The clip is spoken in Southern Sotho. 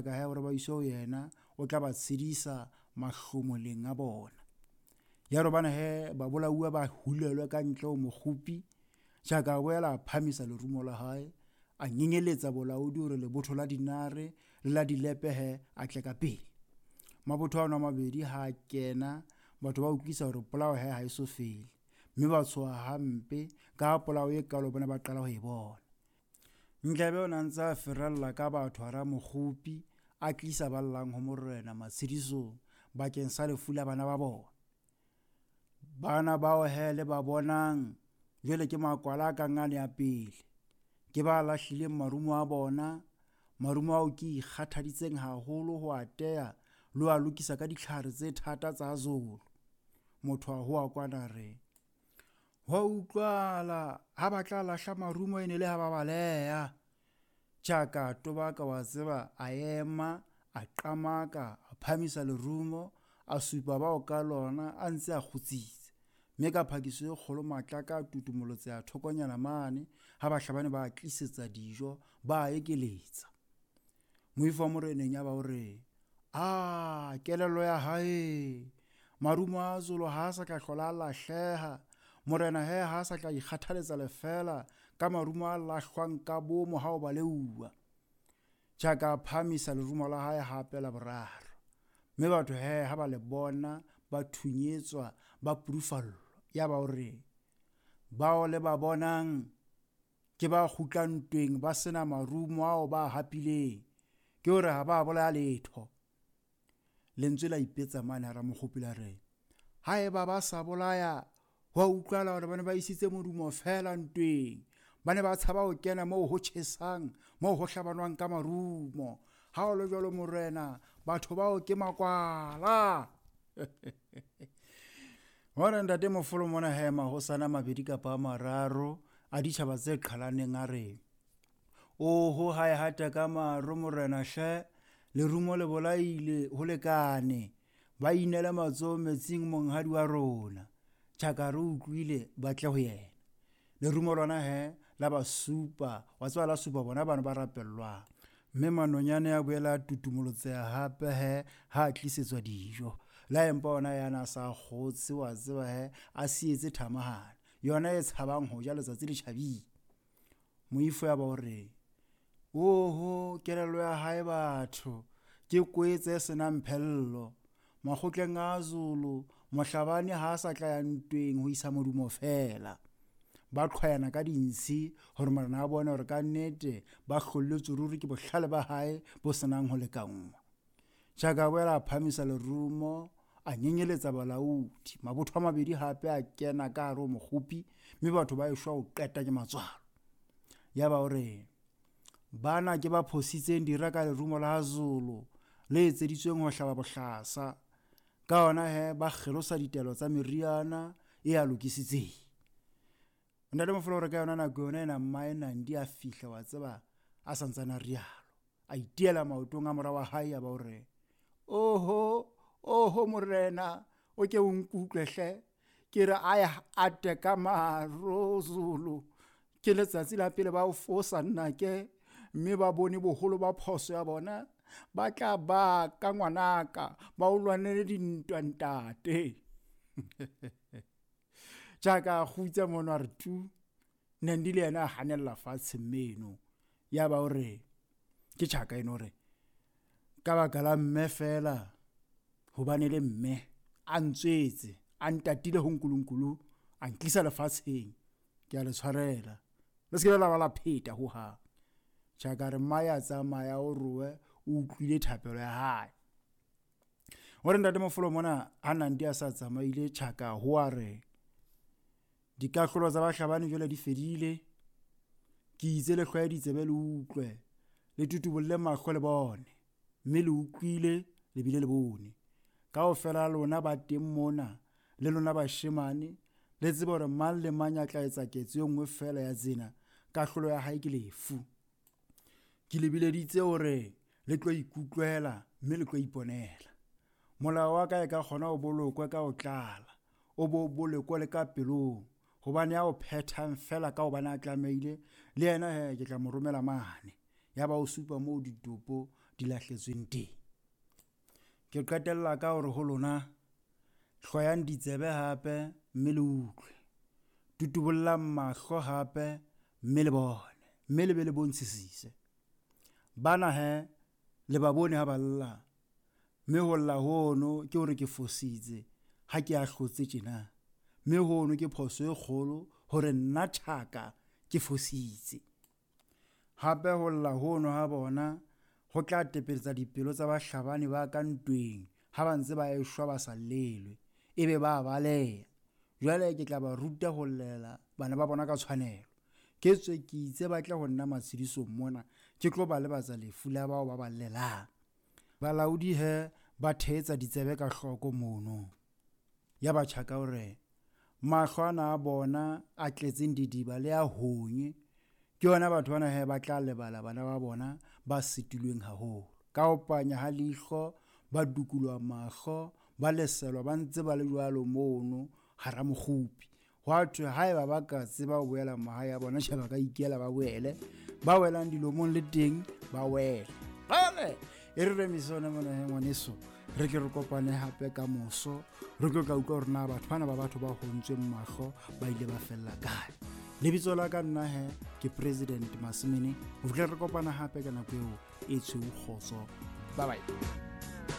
Ka he hore ba iswe ho yena, o tla ba tshedisa mahlomoleng a bona. Ya re hobane he babolauwa ba hulelwe ka ntle ho mokgopi, Tjhaka a boela a phamisa lerumo la hae, a nyenyeletsa bolaodi hore lebotho la dinare le la dilepe he a tle ka pele. Mabotho ano a mabedi ha a kena, batho ba utlwisa hore polao he ha e so fele, mme ba tshoha hampe ka ha polao e kalo bona ba qala ho e bona. Ndlebe o ne a ntse a ferella ka batho hara mokgopi, a tlisa ba llang ho morena matshedisong bakeng sa lefu la bana ba bona. Bana bao he le ba bonang jwale ke makwala a kang ane a pele. Ke ba lahlileng marumo a bona, marumo ao ke ikgathaditseng haholo ho a teya le ho a lokisa ka ditlhare tse thata tsa Zulu. Motho a hoa kwana re, Ho a utlwala ha ba tla lahla marumo e ne le ha ba baleha. Tjaka a tobaka wa tseba a ema, a qamaka, a phamisa lerumo, a supa bao ka lona a ntse a kgutsitse. Mme ka phakiso e kgolo matlaka a tutumolotseha thokonyana mane ha bahlabani ba a tlisetsa dijo ba a ekeletsa. Moifo wa moreneng ya ba o re, A kelello ya hae! Marumo a Zulu ha a sa tla hlola a lahleha. Morena he ha a sa tla ikgathaletsa lefeela ka marumo a lahlwang ka bomo ha o baleuwa. Tjhaka a phahamisa lerumo la hae hape la boraro. Mme batho he ha ba le bona ba thunyetswa ba pudufallwa. Yaba o re, Bao le ba bonang ke ba kgutlang ntweng ba se na marumo ao ba a hapileng, ke hore ha ba bolaya letho. Lentswe la ipetsa mane hara mokgopi la re, Haeba ba sa bolaya, ho a utlwala hore ba ne ba isitse modumo feela ntweng. Ba ne ba tshaba ho kena moo ho tjhesang, moo ho hlabanwang ka marumo. Ha ho le jwalo morena, batho bao ke makwala. Hore ntate Mofolo mona he mahosana a mabedi kapa a mararo a ditjhaba tse qhalaneng a re, Oho ha e hata ka maro morena hle, lerumo le bolaile ho lekane, ba inele matsoho metsing monghadi wa rona. Tjhaka re utlwile ba tle ho yena. Lerumo lona he la ba supa, wa tseba la supa bona bano ba rapellwang. Mme manonyane a boela a tutumolotseha hape he ha a tlisetswa dijo. La empa ona yana a sa kgotse wa tseba he a sietse thamahana, yona e tshabang ho ja letsatsi le tjhabile. Moifo ya ba o re, Oho, kelello ya hae batho, ke kwetse e senang phello. Makgotleng a Zulu, mohlabani ha a sa tla ya ntweng ho isa modumo feela. Ba qhwayana ka dintshi hore morena a bone hore ka nnete ba hlolletswe ruri ke bohlale ba hae bo senang ho lekanngwa. Tjhaka a boela a phamisa lerumo, a nyenyeletsa balaodi. Mabotho a mabedi hape a kena ka hare ho mokgopi, mme batho ba eshwa ho qeta ke matswalo. Yaba o re, Bana ke ba phositseng dira ka lerumo la Zulu le etseditsweng ho hlaba bohlasa. Ka hona he ba kgelosa ditaelo tsa meriana e a lokisitseng. Ntate Mofolo o re ka yona nako yona ena mmae Nandi a fihla wa tseba a santsane a rialo. A itiela maotong a mora wa hae ya ba o re, Oho, oho morena, o ke o nkutlwe hle. Ke re a ya ate ka maro Zulu. Ke letsatsi la pele ba o fosa nnake mme ba bone boholo ba phoso ya bona. Ba tla ba ka ngwanaka, ba o lwanele dintwa ntate. Jaaka a kgutsa mono a re tu. Nandi le yena a hanella fatshe mmeno. Ya ba o re ke tjhaka eno re ka baka la mme fela hobane le mme a ntswetse a ntatile ho nkulunkulu a ntlisa lefatsheng ke a le tshwarela le se ke la ba la pheta ho hang tjhaka re mma ya tsamaya o roe o utlwile thapelo ya hae o re ntate mofolo mona ha nandi a sa tsamaile tjhaka ho a re Dikahlolo tsa bahlabani jwale di fedile. Ke itse le hlwaye ditsebe le utlwe, le tutubolle mahlo le bone, mme le utlwile le bile le bone. Kaofela lona ba teng mona, le lona bashemane, le tsebe hore mang le mang ya tla etsa ketso e nngwe feela ya tsena, kahlolo ya hae ke lefu. Ke le bileditse hore le tlo ikutlwela mme le tlo iponela. Molao wa ka e ka kgona o bolokwe ka ho tlala, o bo bolokwe le ka pelong, hobane ya o phethang feela ka hobane a tlamehile, le yena he ke tla mo romela mane. Yaba o supa moo ditopo di lahletsweng teng. Ke qetella ka hore ho lona, hlwayang ditsebe hape mme le utlwe. Tutubollang mahlo hape mme le bone, mme le be le bontshisise. Bana he, le ba bone ha ba lla, mme ho lla hono ke hore ke fositse ha ke ahlotse tjena. Mme hono ke phoso e kgolo hore nna Tjhaka ke fositse. Hape ho lla hono ha bona ho tla tepeletsa dipelo tsa bahlabani ba ka ntweng ha ba ntse ba eshwa ba sa llelwe, ebe ba baleha. Jwale ke tla ba ruta ho llela bana ba bona ka tshwanelo. Ke tswe ke itse ba tle ho nna matshedisong mona, ke tlo ba lebatsa lefu la bao ba ba llelang. Balaodi he ba theetsa ditsebe ka hloko mono. Yaba Tjhaka o re, Mahlo ana a bona a tletseng didiba le a honye, ke yona batho bana he ba tla lebala bana ba bona ba sitilweng haholo. Ka ho panya ha leihlo ba dukulwa mahlo, ba leselwa ba ntse ba le jwalo mono hara mokgupi. Hwa thwe haeba ba ka tseba ho boela mahae a bona, tjhe ba ka ikela ba boele. Ba welang dilomong le teng ba wele. Jwale e re remise yona mona he ngwaneso, re ke re kopane hape ka moso, re tlo tla utlwa hore na batho bana ba batho ba hontsweng mahlo ba ile ba fella kae. Lebitso la ka nna he ke President Masimene. Ho fihlela re kopana hape ka nako eo e tshweu kgotso. Bye bye.